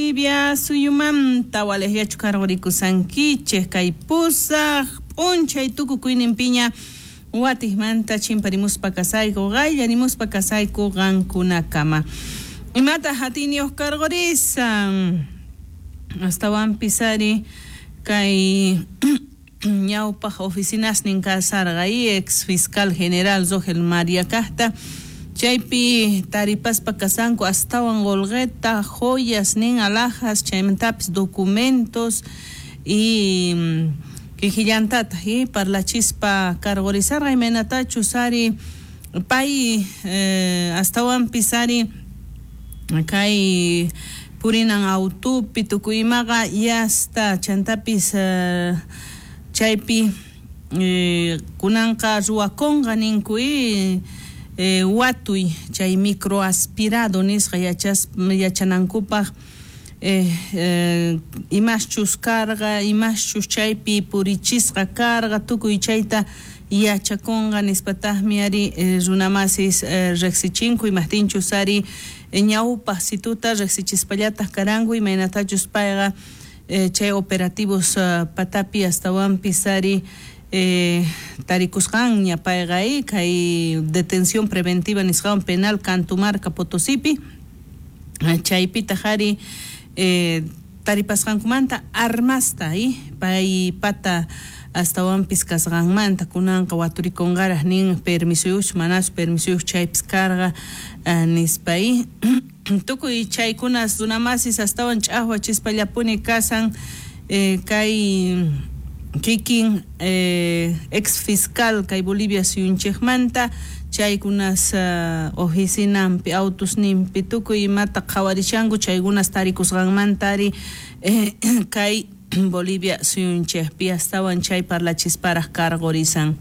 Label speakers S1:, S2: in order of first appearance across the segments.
S1: Bolivia suyumanta walejllachu karqurikusankichej kay pusaj p'unchay tukukuyninpiña watijmanta chimparimuspa kasayku qayllarimuspa kasayku qankunakama. Imataq atiyniyuq karqurisan astawanpis ari kay ñawpaq oficinasnin kasarqa y ex fiscal general Rogel María kajta chaypi taripaspa kasanku astawan qolqeta joyas nin alhajas chaymantapis documentos y kikillantataq y parlachispa karqurisarqa imaynatachus ari pay astawanpis ari kay purinan autupi tukuy imaqa yasta chantapis chaypi kunanqa ruwakunqa ninku y watuy chay microaspirado nisqa yachanankupaq imaschus karqa imaschus chaypi purichisqa karqa tukuy chayta yachakunqa nispataqmi ari runamasis riqsichinku imajtinchus ari ñawpaq situta riqsichispallataq karanku imaynatachus payqa chay operativos patapi astawanpis ari tarikusqanña payqa kay detención preventiva nisqawan penal Cantumarca Potosipi chaypitaq ari taripasqankumanta armasta pay pata astawanpis kasqanmanta kunanqa waturikunqaraq nin permisuyuq manachu permisuyuq chaypis karqa nispa tukuy chaykunas runamasis astawan ch'aqwachispallapuni kasan kay kikin ex fiscal kay Bolivia suyunchikmanta chaykunas oficinanpi autusninpi tukuy imata qhawarishanku chaykunas tarikusqanmanta ari kay Bolivia suyunchikpi astawan chay parlachisparaq karqurisan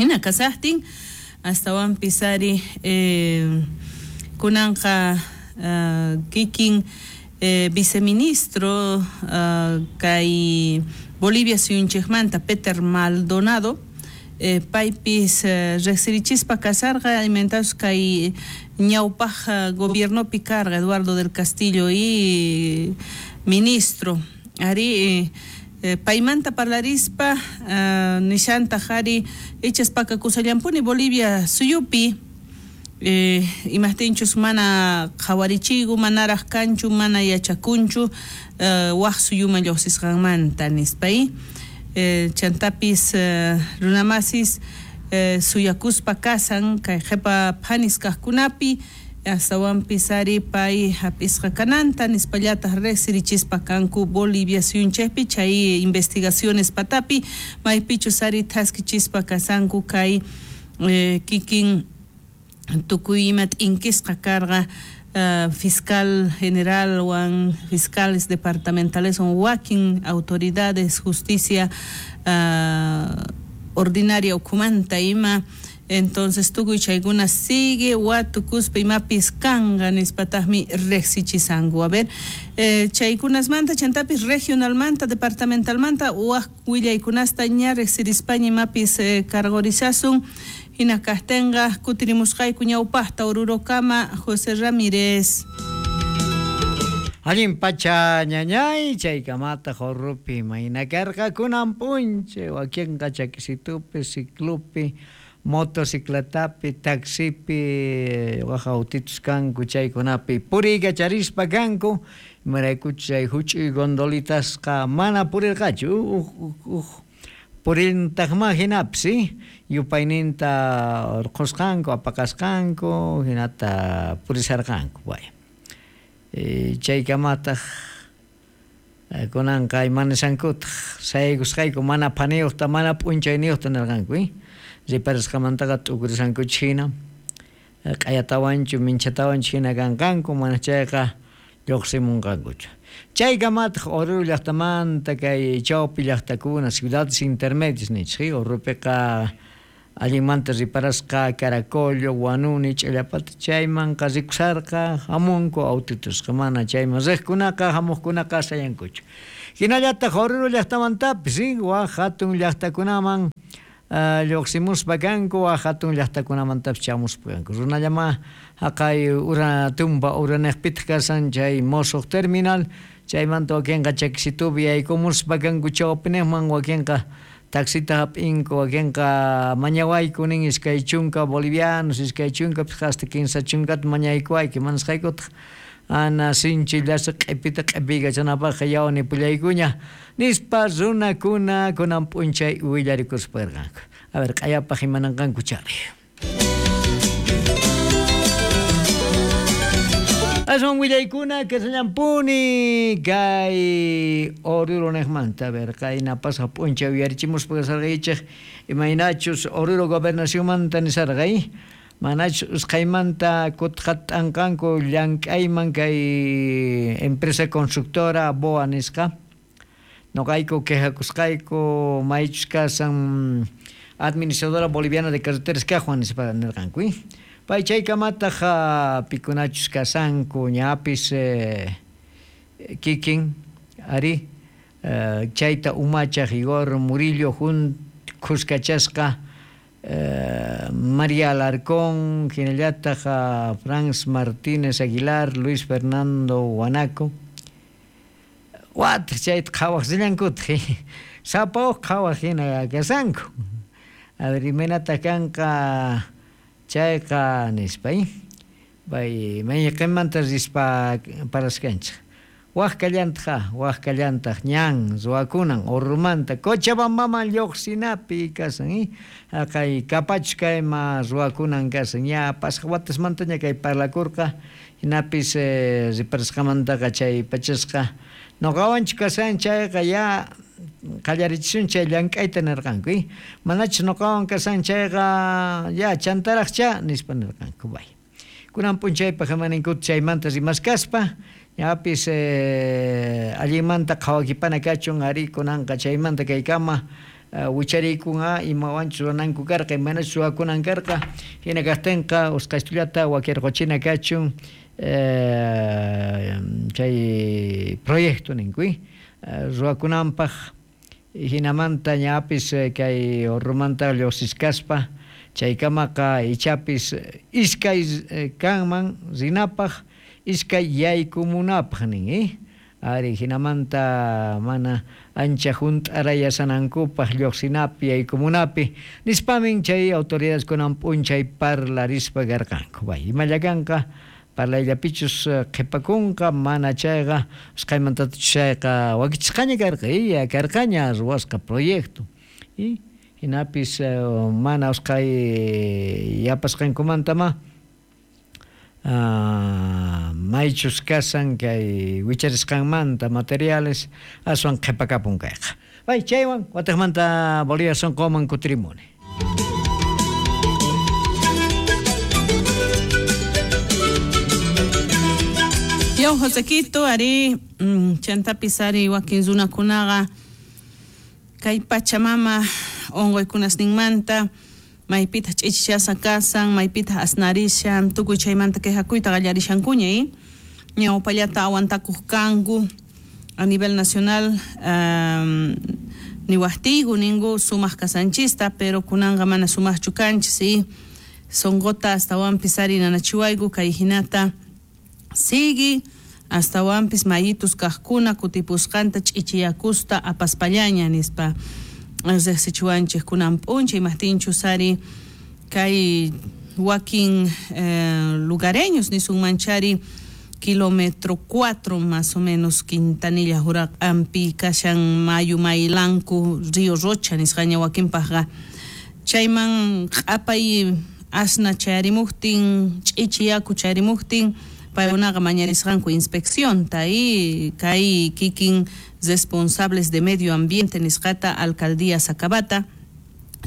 S1: hina kasaqtin astawanpis ari kunanqa kikin viceministro kay Bolivia suyunchikmanta Peter Maldonado paypis riqsirichispa kasarqa imaynatachus kay ñawpaq gobiernopi karqa Eduardo del Castillo y ministro ari paymanta parlarispa nishantaq ari ichas pakakusallampuni Bolivia suyupi imajtinchus mana qhawarichiyku manaraq kanchu mana yachakunchu waq suyuman lluqsisqanmanta nispa chantapis runamasis suyakuspa kasan kay qhipa phanis kaqkunapi astawanpis ari pay hap'isqa kananta nispallataq riqsirichispa kanku Bolivia suyunchikpi chay investigaciones patapi maypichus ari thaskichispa kasanku kay kikin tukuy ima t'inkisqa karqa fiscal general wan fiscales departamentales wakin autoridades justicia ordinaria ukhumanta ima entonces tukuy chaykuna sigue watukuspa imapis kanqa nispataqmi riqsichisanku. A ver chaykunasmanta chantapis regionalmanta departamentalmanta waq willaykunasta ña riqsirispaña imapis karqurisasun hina kaqtinqa kutirimusqayku ñawpaqta Orurokama José Ramírez.
S2: Allin pacha ñañay chaykamata Oruro-pi mayna karqa kunan p'unchay wakinqa chakisitupi ciclopi motocicletapi taxipi waj autitos kanku chaykunapi puriykacharispa kanku imaraykuchus chay huch'uy gondolitasqa mana purirqachu uj purintaqma hinapis yupayninta urqhusqanku apaqasqanku hinata purisarqanku bueno chaykamataq kunanqa imanisankutaq sayaykusqayku mana phaniyuqta mana p'unchayniyuqta nirqanku riparasqamantaqa t'ukurisankuchis hina q'ayatawanchu minchatawanchu hina kanqanku mana chayqa lluqsimunqankuchu chaykamataq Oruro llaqtamanta kay chawpi llaqtakuna ciudades intermedias ninchik Oruropiqa allinmanta riparasqa Caracollo, Huanuni, Ch'illapata chaymanqa rikusarqa hamunku autitusqa mana chayman riqkunaqa hamuqkunaqa sayankuchu hinallataq Oruro llaqtamantapis waq hatun llaqtakunaman Lluqsimuspa kanku waj hatun llaqtakunamantapis chamuspa kanku runallama haqay ura tumpa uraniqpitaq kasan chay mosuq terminal chaymanta wakinqa chakisitupi yaykumuspa kanku chawpiniqman wakinqa taxita hap'inku wakinqa mañawayku nin 20 bolivianos 20 hasta 30 mañaykuwayku manasqaykutaq ana sinchi llasa q'ipita q'ipiykachanapaqqa yawni pullaykuña nispa runakuna kunan p'unchay willarikuspa karqanku. A ver, q'ayapaq imananqanku chari. Aswan willaykuna kasallampuni kay Oruro niqmanta. A ver, qayna pasaq p'unchay uyarichimuspa kasarqaychik imaynachus Oruro gobernacionmanta nisarqay manachus usqhaymanta kutqat'anqanku llank'ayman kay empresa constructora BOA nisqa noqayku quejakusqayku maychus kasan administradora boliviana de carreteras kaqwan nispa nirqanku. Pay chaykamataq pikunachus kasanku ñapis kikin ari chayta umachaq Igor Murillo khuskachasqa María Alarcón, hinallataq Franz Martínez Aguilar, Luis Fernando Guanaco. Wataq chayta qhawaq rillankutaq sapa uj qhawaq hina kasanku. A ver, imaynataq kanqa chayqa nispa pay mayqinmanta rispa paraskanchik. Waj kallantaq ñan ruwakunan Orurumanta Cochabambaman lluqsinapi kasan haqay kapachus kayma ruwakunan kasan ña pasaq watasmantaña kay parlakurqa hinapis riparasqamantaqa chay pachasqa nuqawanchu kasan chayqa ya qallarichisun chay llank'ayta nirqanku manachus nuqawan kasan chayqa ya chantaraqcha nispa nirqanku bay. Kunan p'unchaypaq imaninkuta chaymanta rimaskaspa ñapis allinmanta qhawakipana kachun ari kunanqa chaymanta kaykama wichariykunqa imawanchus ruwananku karqa imanachus ruwakunan karqa hina kaqtinqa usqhaystullata wakirquchina kachun chay proyecto ninku ruwakunanpaq hinamanta ñapis kay Orurumanta lluqsiskaspa chaykamaqa ichapis iskay kanman rinapaq iskay yaykumunapaq nin ari hinamanta mana ancha hunt'arayasanankupaq lluqsinapi yaykumunapi nispamin chay autoridades kunan p'unchay parlarispa karqanku. Bay imalla kanqa parlayllapichus qhipakunqa mana chayqa usqhaymantatachus chayqa wakichisqaña karqa ya karqaña ruwasqa proyecto hinapis mana usqhay yapasqankumantama maychus kasan kay wicharisqanmanta materiales aswan qhipakapun kayqa. Bay chaywan wataqmanta Bolivia sunquman kutirimuni.
S1: Yaw Josequito ari chantapis ari wakin runakunaqa kay Pachamama unquykunasninmanta maypitaq ch'ichichasqa kasan, maypitaq asnarishan, tukuy chaymanta quejakuyta qallarishankuña ñawpallata awantakuq kanku a nivel nacional niwaqtiyku ninku sumaq kasanchista pero kunanqa mana sumaqchu kanchis sunquta astawanpis ari nanachiwayku kay hinata sigui astawanpis mayitus kaqkuna kutipusqanta ch'ichiyakusta apaspallaña nispa riqsichiwanchik kunan p'unchay imaqtinchus ari kay wakin lugareños nisunmanchari kilómetro 4 más o menos Quintanilla Juraq'ampi kashan mayu Maylanku Río Rocha nisqaña wakinpaqqa chayman q'apay asna chayarimuqtin ch'ichiyaku chayarimuqtin paykunaqa mañarisqanku inspeccionta y kay kikin responsables de medio ambiente nisqata alcaldía Sacabata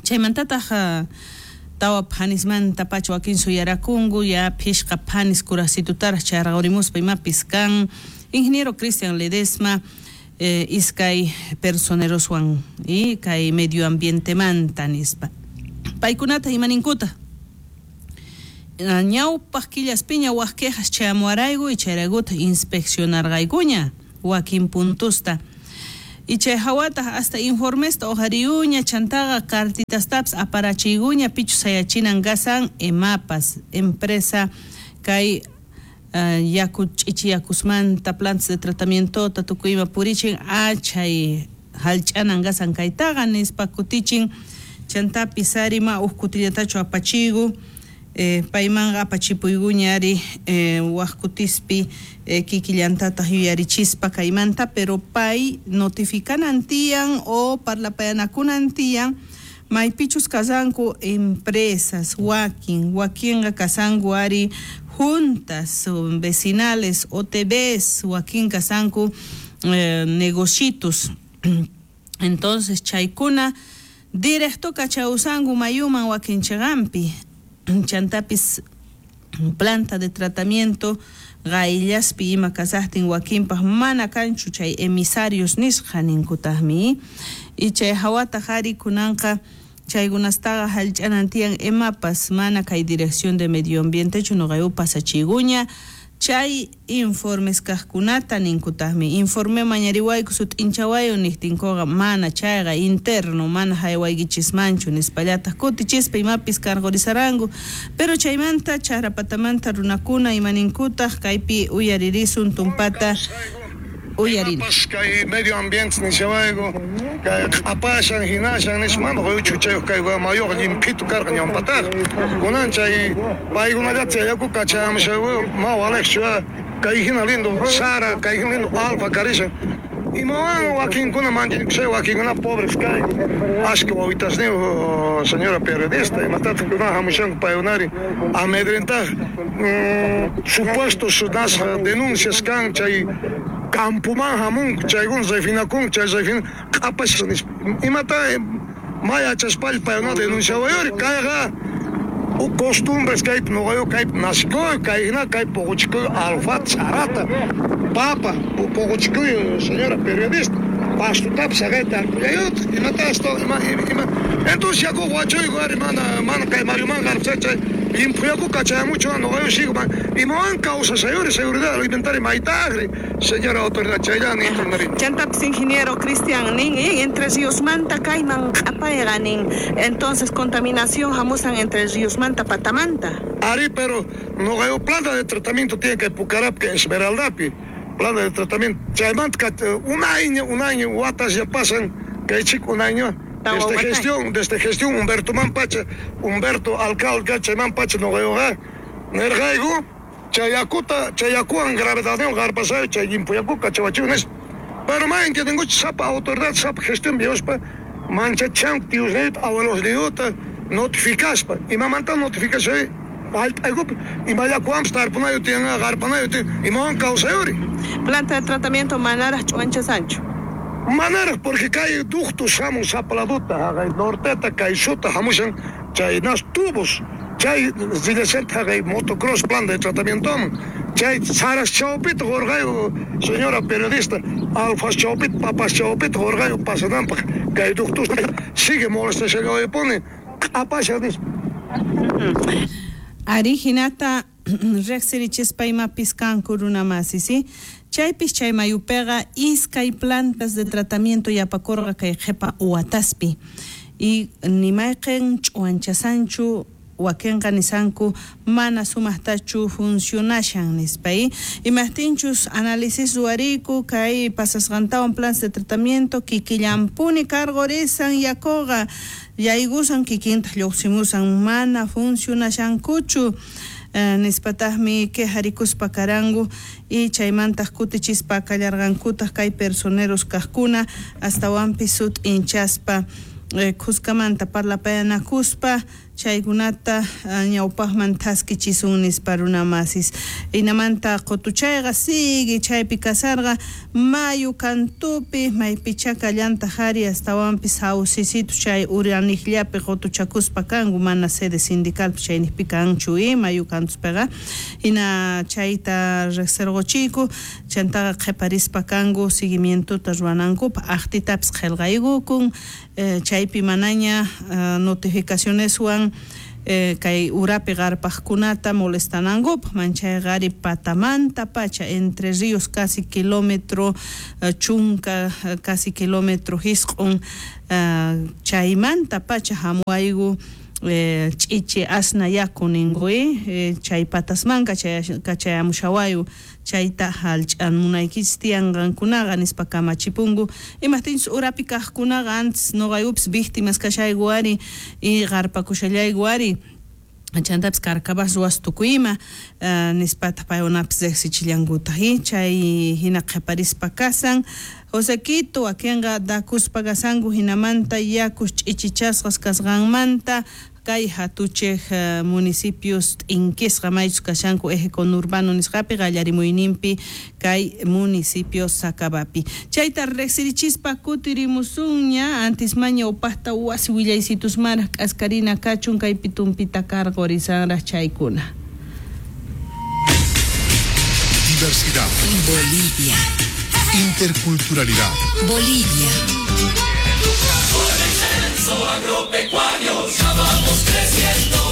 S1: chaymantataq tawa phanismanta pacha wakin suyarakunku ya phishqa phanis kurasitutaraq chayraqurimuspa imapis kan ingeniero Cristian Ledesma iskay personeroswan y kay medio ambientemanta nispa paykunata imaninkuta ñawpaq killaspiña waj quejas chayamuarayku y chayraykuta inspeccionarqaykuña wakin puntusta Y chay hawataq hasta informesta uqhariyuña chantaqa cartitastapas aparachiyguña pichus sayachinan gasan EMAPAS empresa kay yaku ch'ichiyakusmanta plantas de tratamientota tukuyma purichin achay hallch'anan gasan kaytaqa nispa kutichin chantapis ari ma uj kutillatachu apachigu paymanqa apachipuyguña ari waj kutispi kikillantataq yuyarichispa kaymanta, pero pay notificanan tiyan o parlapayanakunan tiyan maypichus kasanku empresas wakin wakinqa kasanku ari juntas vecinales OTBs wakin kasanku negocitos. Entonces chaykuna directo kachawsanku mayuman wakin chiqanpi chantapis planta de tratamiento qayllaspi ima kasaqtin wakinpaq mana kanchu chay emisarios nisqa ninkutaqmi. Y chay hawataq ari kunanqa chaykunastaqa hallch'anan tiyan EMAPAS mana kay dirección de medio ambientechu nuqayu pasachiguña chay informes kaqkunata ninkutaqmi. Informe mañariwayku sut'inchawayu niqtinkuqa mana chayqa interno mana haywaykichismanchu nispallataq kutichispa imapis cargorizaranku. Pero chaymanta chaqrapatamanta runakuna imaninkutaq kaypi uyaririsun tumpata uyarina.
S3: Kay medio ambiente nishawayku kay q'apashan hinashan nispa mana quyuchu kay mayuqa llimphitu karqa ñawpataqa kunan chay paykunallata chay yaku kachamushawu ma walejchu kay hina lindo sara kay hina lindo alfa karishan imawan wakinkuna manchakushay wakinkuna pobres kay ashka wawitasniyu señora periodista imatataq kunan hamushanku paykunari amedrentaj supuestos nas denuncias kan chay campuman hamunku chaykuna refinakun chay refina q'apash nispa imata mayachaspalla paykuna denunciawayuri kayqa costumbres kaypi nuqayu kaypi nasikuy kay hina kay puquchikuy alfa sarata papa puquchikuy señora periodista pastutapis haqayta tarpullayutaq imata hasta ima entonces yaku wachuyku ari mana mana kay mayuman qarpusay chay llimphu yaku kachayamuchu nuqayu sigo imawan kawsashayuri seguridad alimentaria maytaqri señora autoridad chayllani intinari.
S1: Chantapis ingeniero Cristian nin Entre Ríosmanta kayman q'apayqa nin entonces contaminación hamusan Entre Ríosmanta patamanta.
S3: Ari pero nuqayu planta de tratamiento tiene que Pucarapqa Esmeraldapi planta de tratamiento chaymanta un año watas ya pasan kay chico un año desde gestión Humberto Mampacha Humberto alcalde chaymanpacha nuqayuqa nirqayku chay yakuta chay yakuwan gravedadniwan qarpasayo chay llimpu yakuqa kachawachiwan nispa pero ma entiendenkuchu sapa autoridad sapa gestión viospa manchachanku tiusniyuta abuelosniyuta notificaspa imamanta notificashay hallp'aykupi ima yakuwanpis tarpunayu tiyan qarpanayu tiyan imawan kawsayuri.
S1: Planta de tratamiento manaraq ch'uwanchasanchu.
S3: Manaraq porque kay ductos hamun sapa laduta haqay norteta kay suta hamushan chay nas tubos chay rillasanta haqay motocross planta de tratamientoman chay saras chawpita qurqayu señora periodista alfas chawpita papas chawpita qurqayu pasananpaq kay ductos sigue molestashallaypuni q'apashan nispa.
S1: Ari hinata riqsirichispa imapis kanku runamasi, ¿sí? Chaypis chay mayupiqa iskay plantas de tratamiento yapakurqa kay qhipa wataspi y nimayqin ch'uwanchasanchu wakinqa nisanku mana sumaqtachu funcionashan nispa. Imaqtinchus análisis ruwariyku kay pasasqantawan plantas de tratamiento kikillanpuni cargorisan yakuqa yaykusan kikintaq lluqsimusan mana funcionashankuchu nispataqmi quejarikuspa karanku y chaymantaq kutichispa kallarqankutaq kay personeros kaqkuna astawanpis sut'inchaspa khuskamanta parlapayanakuspa chaykunata ñawpaqman thaskichisun nispa runamasis. Hinamanta qutuchayqa sigue chaypi kasarqa mayu kantupi maypichá kallantaq ari astawanpis sawsisitu chay uraniqllapi qutuchakuspa kanku mana sede sindicalpi chayniqpi kanchu mayu kantuspiqa hina chayta riqsirquchiyku chantaqa qhiparispa kanku seguimientota ruwanankupaq aqtitapis qillqaykukun chaypi manaña notificacioneswan
S4: Kay urapi qarpaqkunata molestanankupaq manchayqari patamanta pacha Entre Ríos casi kilómetro chunka casi kilómetro hisq'un chaymanta pacha hamuwayku ch'ichi asna yaku ninku chay patasmanka kachayamushawayku chayta hallch'amunaykichis tiyan qankunaqa nispa kamachipunku imajtinchus urapi kaqkunaqa antes noqaykupis víctimas kashayku ari y qarpakushallayku ari chantapis carcabas ruwas tukuyma nispataq paykunapis riqsichillankutaq chay hina qhiparispa kasan Josequito wakinqa dakuspa kasanku hinamanta yakus ch'ichichasqas kasqanmanta kay hatuchej municipios t'inkisqa maychus kashanku eje conurbano nisqapi qallarimuyninpi kay municipio Sacabapi chayta riqsirichispa kutirimusunña antes maña upaqta wasi willaysitusmaraq k'askarina kachun kaypi tumpita karqurisanraq chaykuna.
S5: Diversidad.
S6: Bolivia.
S5: Interculturalidad.
S6: Bolivia.
S7: Por el censo agropecuario ya vamos creciendo.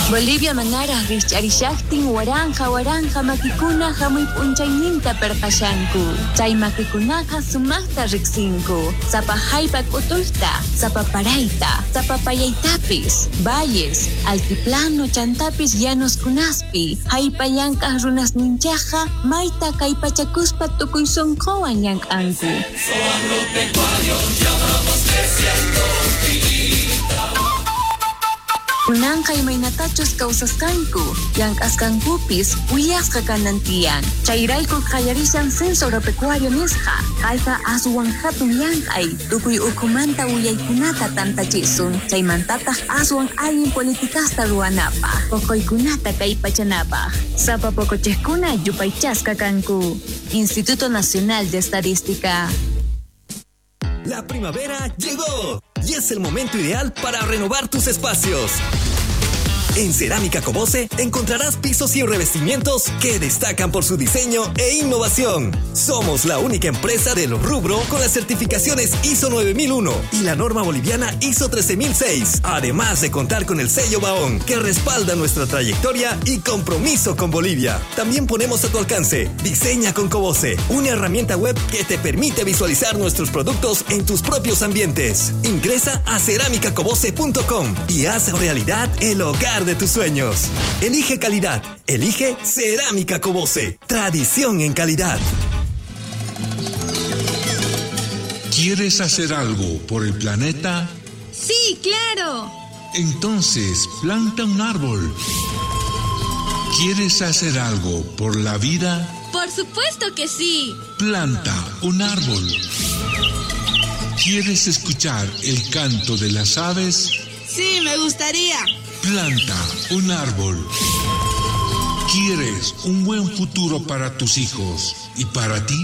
S6: Bolivia manaraj rikch'arishaqtin waranja waranja makikuna hamuy p'unchayninta perqashanku. Chay makikunaqa sumaqta riqsinku. Sapa jallp'a k'utuyta, sapa parayta, sapa payaytapis, valles, altiplano chantapis llanoskunaspi. Jallp'a llank'aq runasninchaqqa mayta kallpachakuspa tukuy sunquwan llank'anku. Kunanqa imaynatachus kawsasqanku, llank'asqankupis willasqa kanan tiyan. Chayrayku qallarishan censo agropecuario nisqa. Kayqa aswan hatun llank'ay, tukuy ukhumanta willaykunata tantachisun, chaymantataq aswan allin politikasta ruwanapaq, poqoykunata kallpachanapaq. Sapa poqochiqkuna yupaychasqa kanku. Instituto Nacional de Estadística.
S8: La primavera llegó y es el momento ideal para renovar tus espacios. En Cerámica Cobose encontrarás pisos y revestimientos que destacan por su diseño e innovación. Somos la única empresa del rubro con las certificaciones ISO 9001 y la norma boliviana ISO 13006, además de contar con el sello Baón, que respalda nuestra trayectoria y compromiso con Bolivia. También ponemos a tu alcance Diseña con Cobose, una herramienta web que te permite visualizar nuestros productos en tus propios ambientes. Ingresa a ceramicacobose.com y haz realidad el hogar de tus sueños. Elige calidad. Elige Cerámica Cobose. Tradición en calidad.
S5: ¿Quieres hacer algo por el planeta?
S9: Sí, claro.
S5: Entonces, planta un árbol. ¿Quieres hacer algo por la vida?
S9: Por supuesto que sí.
S5: Planta un árbol. ¿Quieres escuchar el canto de las aves?
S4: Sí, me gustaría.
S5: Planta un árbol. ¿Quieres un buen futuro para tus hijos y para ti?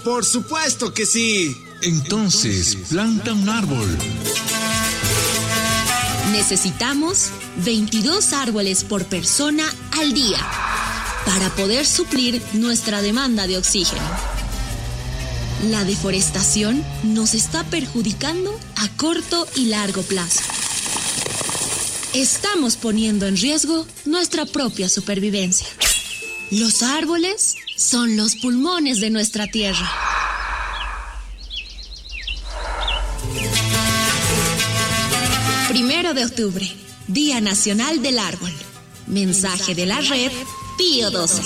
S10: Por supuesto que sí.
S5: Entonces, planta un árbol.
S9: Necesitamos 22 árboles por persona al día para poder suplir nuestra demanda de oxígeno. La deforestación nos está perjudicando a corto y largo plazo. Estamos poniendo en riesgo nuestra propia supervivencia. Los árboles son los pulmones de nuestra tierra. 1 de octubre, Día Nacional del Árbol. Mensaje de la red Pío XII.